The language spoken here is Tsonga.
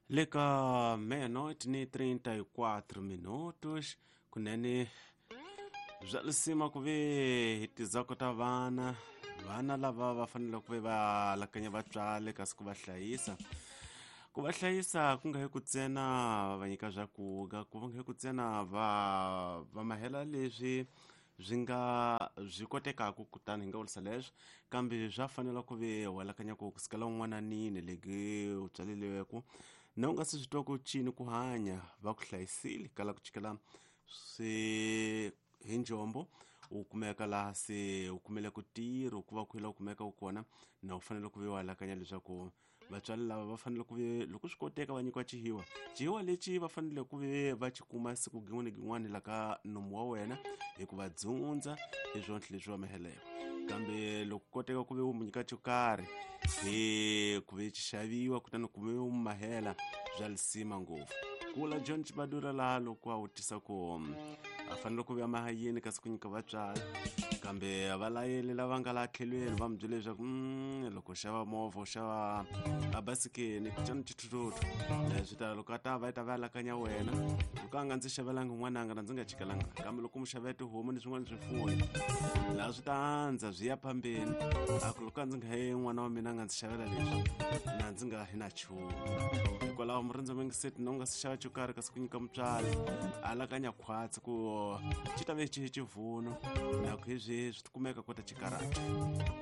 Le ka meia-noite ni 34 minutos kunene bya lisima ku ve hi tizako ta vana vana lava va fanele ku ve va alakanya vatswari kasi ku va hlayisa ku va hlayisa ku nga hi ku ntsena va va nyika swakudya ku nga hi ku ntsena va va mahela leswi swi nga byi kotekaka kutani hi nga vurisa leswo kambe swa fanela ku ve u alakanya ku kusukela un'wananini leki u tswaleriweke na u nga se swi twa ku cini ku hanya va ku hlayisile kala ku chikela swi hi njombo u kumeka laha se u kumele ku tirho ku va ku u kumeka u kona na u fanele ku ve u alakanya leswaku Vatswari lava va fanele ku ve loko swi koteka va nyikiwa xihiwa. Xihiwa lexi va fanele ku ve va xi kuma siku gin'wana ni gin'wana la ka nomu wa wena hi ku va dzundza hi swonhle leswi va miheleko. Kambe loko koteka ku ve u mu nyika xo karhi hi ku ve xi xaviwa kutani ku ve u mu mahela bya lisima ngopfu. Kula John Chibadura laha loko a vutisa ku a fanele ku ve maha yini kasi ku nyika vatswari kambe valayeli lava nga laha tlhelweni va mi byele leswaku loko u xava movha u xava a basikeni kutsana xithuthuthu leswi ta loko a ta va yi ta va alakanya wena loko a nga ndzi xavelanga n'wananga na ndzi nga chikelanga kambe loko mu xavela tihomu ni swin'wana swifuwo laha swi ta andza swi ya phambeni a ku loko a ndzi nga he n'wana wa mina a nga ndzi xavela leswi na ndzi nga hi na nchumu hikwalaho murindzi mingiseti na u nga si xava xo karhi kasi ku nyika mutswari alakanya khwatsi ku xi ta ve xi xivuno na ku hi swihi swi kumeka kota xikarata.